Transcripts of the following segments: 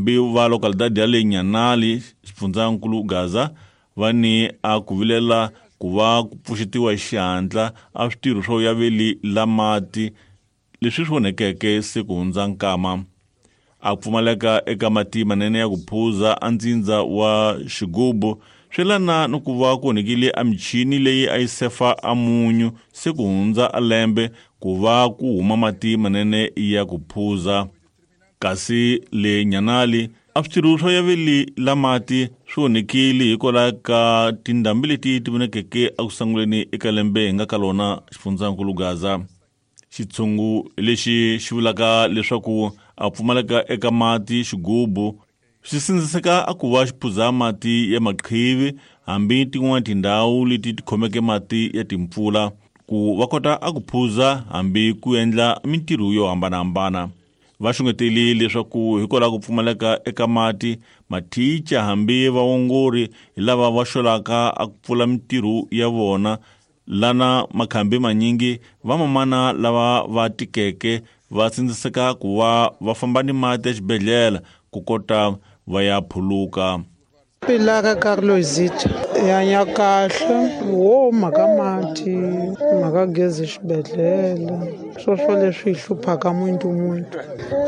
Va localidade ya le Nyanali xifundzankulu Gaza va ni a ku vilela ku va ku pfuxetiwa hi xihatla a switirho swo yaveli la mati leswi swi onhekeke se ku hundza nkama. A pfumaleka eka mati manene ya ku phuza a ndzindza wa xigubu swi lana ni ku va ku onhekile a michini leyi a yi sefa a munyu se ku hundza a lembe ku va ku huma mati manene ya ku phuza. Kasi le Nyanali a switirho swo yaveli la mati swi onhekile hikwalaho ka tindhambi leti ti vonekeke eku sunguleni eka lembe hi nga ka lona xifundzankulu Gaza. Xitshungu lexi xi vulaka leswaku a pfumaleka eka mati xigubu swi sindziseka a ku va xi phuza mati ya maqhivi hambi tin'wana tindhawu leti ti khomeke mati ya timpfula ku va kota a ku phuza hambi ku endla mintirho yo hambanahambana. Va xungeteli leswaku hikwalaho ku pfumaleka eka mati mathicha hambi vaongori hi lava va xolaka a ku pfula mintirho ya vona lana makhambi manyingi vamamana lava va tikeke va sindziseka ku va va famba ni mati exibedhlele ku kota va ya phuluka. Pilaka Carlosita hi hanya kahle wo mhaka mati mhaka gezi xibedhlele swoswo leswi hi hluphaka muntu muntu.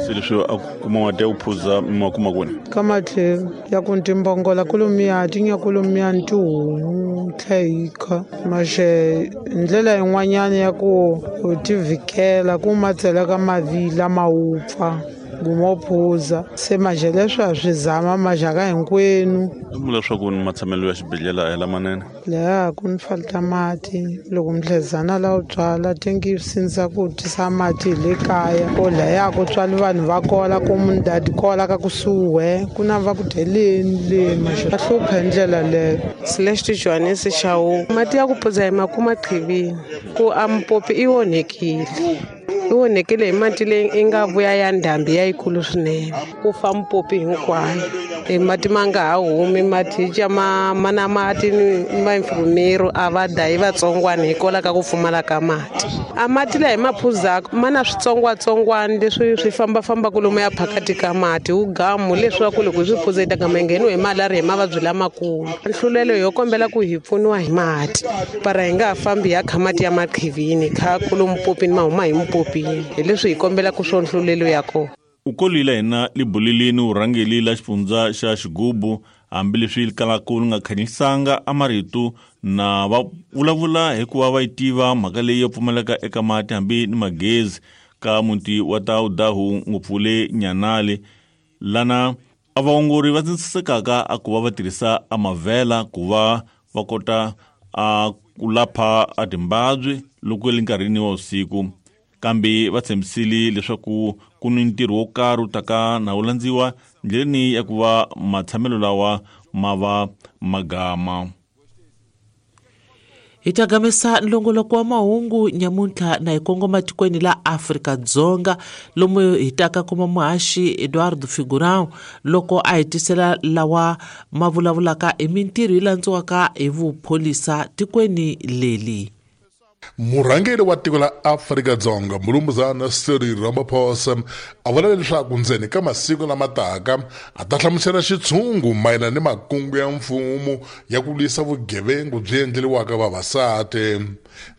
Se leswi a kuma mati ya ku phuza mi ma kuma kwini? Ka matlhelo ya ku timbongola kolomiya ti nya kolomiya ni tihomu tlhe hi kha maxe ndlela yin'wanyana ya ku u ti vhikela ku ma tsela ka mavila ma wupfa gumo phuza se maxe leswi a swi zama maxaka hinkwenu. Vula leswaku ni matshamelo ya xibedhlele a hi lamanene. Laha ku ni falta mati loko mdlezana la u tswala tingi sindza ku tisa mati hi le kaya ko laya ku tswali vanhu va kola ku mundadi kola ka kusuhi ku na va ku dyeleni le maxe va hlupha hi ndlela leyo. Celeste Johannes Shawu mati ya ku phuza hi makuma qhivini ku a mpopi i onhekile. I onhekile hi mati leyi i nga vuya ya ndhambi ya yikulu swinene ku fa mpopi hinkwayo e mati ma nga ha humi mathicha ma mana mati ni vainfirmero a va dayi vatsongwana hikwalaho ka ku pfumala ka mati. A mati laha hi ma phuzaka ma na switsongwatsongwana leswi swi fambafambaka lomu ya phakati ka mati wu gamu leswaku loko hi swi phuza hi ta gama hi ngheniwe hi malariya hi mavabyi lamakulu. Nhlulelo yo kombela ku hi pfuniwa hi mati para hi nga ha fambi hi ya kha mati ya maqhivini kha kulo mpopini ma huma hi mpopini hi leswi hi kombelaka swo nhlulelo ya kona. U kolile hina libulilini urhangeli la xifundza xa xigubu hambileswi kalaka li nga khanyisanga a marito na va vulavula hikuva va yi tiva mhaka leyi yo pfumaleka eka mati hambi ni magezi ka muti wa Taudahu ngopfu le Nyanali lana a vaongori va tsindzisekaka a ku va va tirhisa a mavhela ku va va kota a ku lapha a timbabyi loko le nkarhini wa vusiku. Kambe va tshembisile leswaku ku ni ntirho wo karhi wu taka na wu landziwa ndleleni ya ku va matshamelo lawa ma va magama. Hi ta gamesa nlongoloko wa mahungu nyamuntlha na hi kongoma tikweni la Afrika-Dzonga lomu hi taka kuma muhaxi Eduardo Figurão loko a hi tisela lawa ma vulavulaka hi mintirho yi landziwaka hi vupholisa tikweni leli. Murhangeri wa tiko la Afrika-Dzonga Mulumuzana Cyril Ramaphosa a vula leswaku ndzeni ka masiku lama taka a ta hlamusela xitshungu mayelana ni makungu ya mfumo ya ku lwisa vugevengu byi endleriwaka vavasati.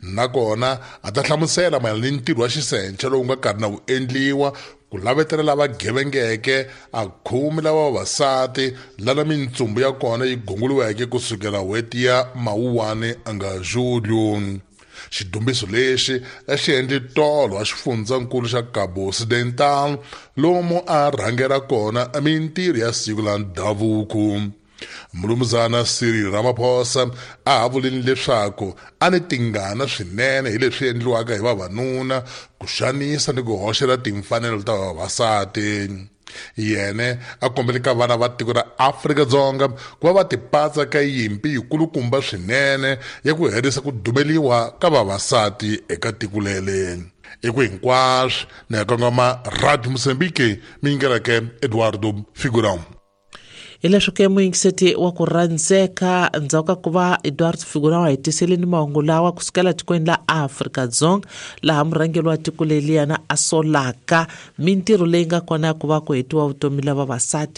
Nakona a ta hlamusela mayelana ni ntirho wa xisenche lowu nga karhi na wu endliwa ku lavetela lava gevengeke a khumi lava vavasati lana mintsumbu ya kona yi gunguriweke kusukela n'hweti ya Mawuwani a nga Julio. Xidumbiso lexi a xi endle tolo a xifundzankulu xa Cabo Occidental lomu a rhangela kona mintirho ya siku la ndhavuko. Mulumuzana Cyril Ramaphosa a ha vulini leswaku a ni tingana swinene hi leswi endliwaka hi vavanuna ku xanisa ni ku hoxela timfanelo ta vavasati. Yene a kombele ka vana va tiko ra Afrika-Dzonga ku va va tipatsa ka yimpi yikulukumba swinene ya ku herisa ku dumeliwa ka vavasati eka tiko lele. I ku hinkwaswo ni ya kongoma Radio Mozambique mi yingeleke Eduardo Figurão. Hileswi ke muyingiseti wa ku rhandzeka ndzhaku ka ku va Eduardo Figurão a hi tiseleni mahungu lawa kusukela tikweni la Afrika-Dzonga laha murhangeri wa tiko leliyana a solaka mintirho leyi nga kona ya ku va ku hetiwa vutomi la vavasati.